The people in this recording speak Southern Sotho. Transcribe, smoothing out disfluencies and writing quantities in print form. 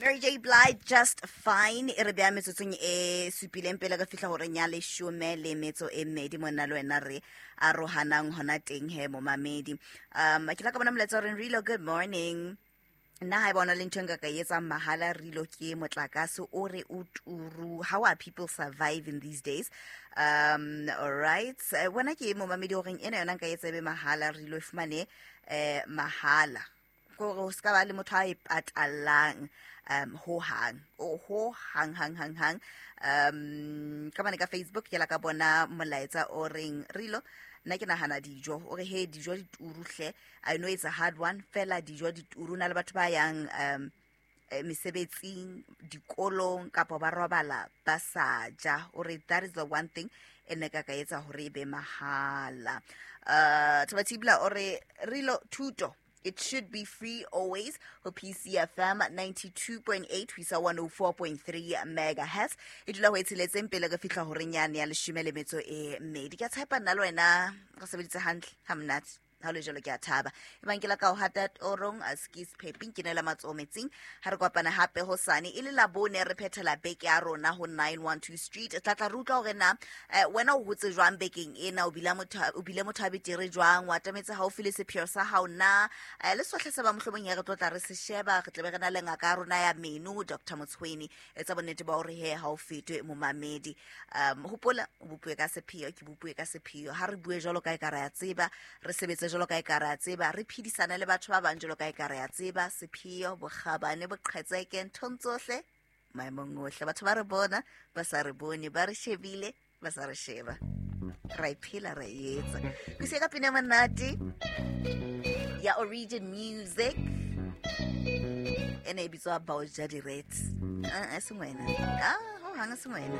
Mary J Blige, Just Fine. E re beya metsotsong e supileng pele re fihla horeng ya leshome le metso e mmedi, monna le wena re arohanang hona teng he, momamedi. Ke la ka bona molaetsa o reng, "Rilo, good morning. Nna ha e bona le ntho e nka ka e etsang mahala, Rilo, ke motlakase o re o turu. How are people surviving these days?" All right. Wena ke momamedi o reng ena yona nka e etsa e be mahala, Rilo, e fumane mahala, kore ho ska ba le motho a e patallang ho hang, o ho hang hang hang hang. Ka bane ka Facebook ke la ka bona molaetsa o reng, "Rilo, nna ke nahana dijo." O re, "He, dijo di turu hle. I know it's a hard one, fela dijo di turu na le batho ba yang mesebetsing, dikolong, kapa ba robala ba sa ja." O re that is the one thing e ne ka ka etsa hore e be mahala. Thobatibla o re, "Rilo, thuto, it should be free always ho PCFM 92.8 ho isa 104.3 megahertz." E dula ho e tsheletseng pele re fihla horeng yane ya leshome le metso e mmedi. Ke a tshepa nna le wena re sebeditse hantle ha monate. Ha o le jalo, ke a thaba. E bang ke la ka o hata torong a skis pheping, ke nela matsoho metsing. Ha re kopana hape hosane e le Labone, re phethela beke ya rona ho 912 Street. Tla tla re utlwa hore na wena o hotse jwang bekeng ena, o bile motho a betere jwang, o atametse haufi le sepheo sa hao na, le sohle se ba mohlomong ya re tlo tla re se sheba. Re tlabe re na le ngaka ya rona ya meno, Dr Motshweni. Etsa bonnete ba hore he ha o fetwe, momamedi. Hopola, o bopuwe ka sepheo, ke bopuwe ka sepheo. Ha re bue jwalo ka e ka re a tseba, re sebetse jwalo ka e ka re a tseba, re phedisane le batho ba bang jwalo ka e ka re a tseba. Sepheo, bokgabane, boqhetseke nthong tsohle, maemong ohle. Batho ba re bona ba sa re bone, ba re shebile ba sa re sheba, ra e phela, ra e etsa. Ke se ka pina monate ya Origin Music ene e bitswa Baoja Direct. E seng wena, ah, ho hang e seng wena.